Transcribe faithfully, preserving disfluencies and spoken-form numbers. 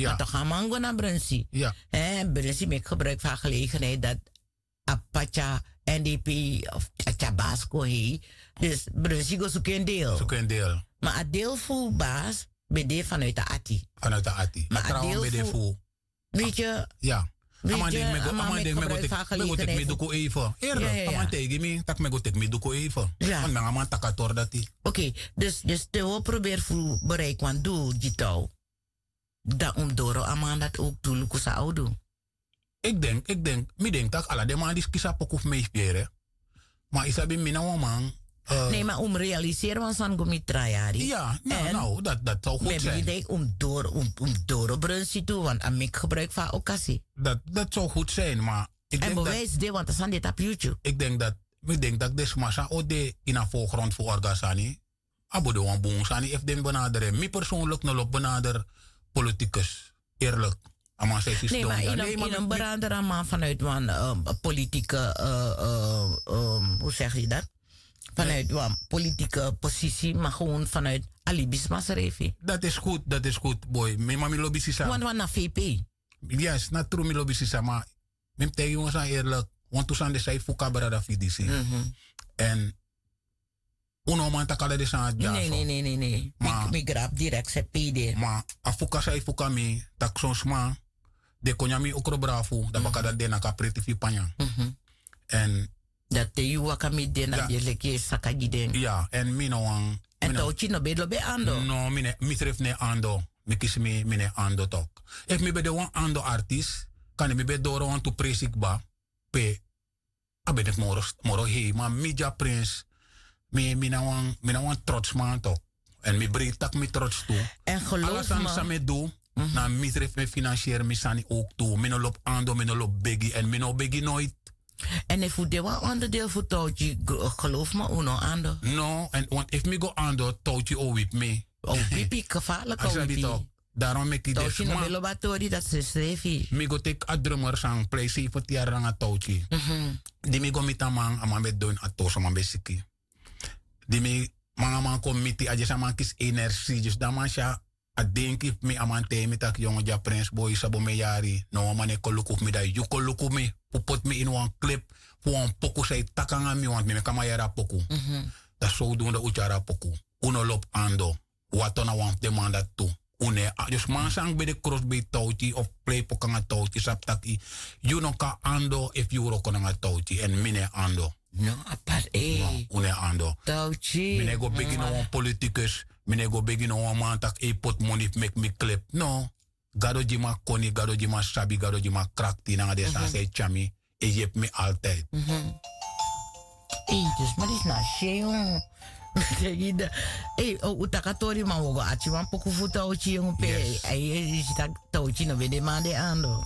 Ma tok' a man go na brunsi. Brunsi meki gebruik fu a gelegenheid dati a p'pa tyari n d p of a tyari basi kon hei. Dus brunsi go suku en deel. Ma a deel fu basi ben de vanuit a ati. Ma a deel fu, weet ye, a man denki mi go teki mi duku even. Eerlik a man taigi mi tak' mi go teki mi duku even. Want nanga a man taki a tori dati. Oké. Dus te wi o proberi fu bereiki wan doel gi tou, dan un mus doro a man dati owk tu luku san a o du. Ik denk ik denk mi denk tak' ala den man disi kisi a poku fu mi e firi. Ma yu sabi mi na wan man. Nee, ma un mus realiseri wan sani go mi tra yari. Ya. Now dati zou goed zijn. Mi e bigi dei un mus doro brunsi tu want a meki gebruik fu a okasi. Dati zou goed zijn ma ik denk dati. Ik denk dati mi denk dati den sma san o de ini a voorgrond fu orga sani, a bo de wan bun sani efu den mi benaderi en mi persoonlik no lobi benaderi politikus. Eerlik. A man san e si sidon ya. Nee, ma yu no mus benaderi a man vanuit wan politike, hoe segi yu dati? Vanuit wan politike posisi ma gewoon vanuit a libisma srefi. Dati is goed, dati is goed. Boy mi ma mi lobi sisa. Want wan na vp. Yes na tru mi lobi sisa ma mi mus taigi yu wan sani eerlik. Wantu sani de san e fuka brada fu yu disi. Èn un no man taki ala den sani dyaso. Nee nee nee nee. Mi grabu direkti sepede. Ma a fuka san e fuka mi tak' son sma den kon nyan mi okrobrafu dan baka dati den naki a preti fu yu panya. Èn dati te yu waka miti den na den leki e saka gi den. Ya èn mi no wan. Èn towtyi no ben lobi en ando. No mi srefi no e ando. Mi kisi mi mi no e ando tok'. Efu mi ben de wan ando artis kande mi ben doro wantu presi kba pe a ben de fu moro hei ma mi dya prins. Mi na wan trotsman tok'. Èn mi breiti tak' mi trots tu. Ala sani san mi e du na mi srefi mi e finansieri mi sani owk tu mi no lobi ando mi no lobi begi èn mi no o begi noiti. Èn efu un de wan onderdeel fu towtyi geloofu mi un no ando. No èn want efu mi go ando towtyi o wipi mi. O wipi kefalik o wipi. Daron meki den sma. Mi go teki a drummer san plei seifenti yari nanga towtyi. Di mi go miti a man a man ben didon ini a toso a man ben siki. Di mi manga man kon miti a dyesi a man kisi enersi dyesi dan a man si a denki fu mi a man taigi mi tak' yongo dya prins boi yu sabi o mi e yari na wan man e kon luku fu mi dan yu kon luku mi fu poti mi ini wan klip fu wan poku san e taki nanga mi wantu mi meki a man yari a poku. Dan sowdun dan un tyari a poku. Un no lobi ando. Wato na wan fu den man dati tu. Un no e ando dus man san ben de krosbei towti of pleipoku nanga towti sabi taki yu no kan ando efu yu wroko nanga towti èn mi no e ando. No apart. Un no e ando. Mi no e go begi no wan politikus. Mi no e go begi no wan man tak' e poti moni fu meki mi klep no. Gado gi mi a koni gado gi mi a sabi gado gi mi a krakti nanga den sani san e tyari mi e yepi mi altid. Ei dus ma disi na a sei. Ei un taki a tori ma un o go ati wan poku fu towti yongu pe a yesi taki towti no ben de man de ando.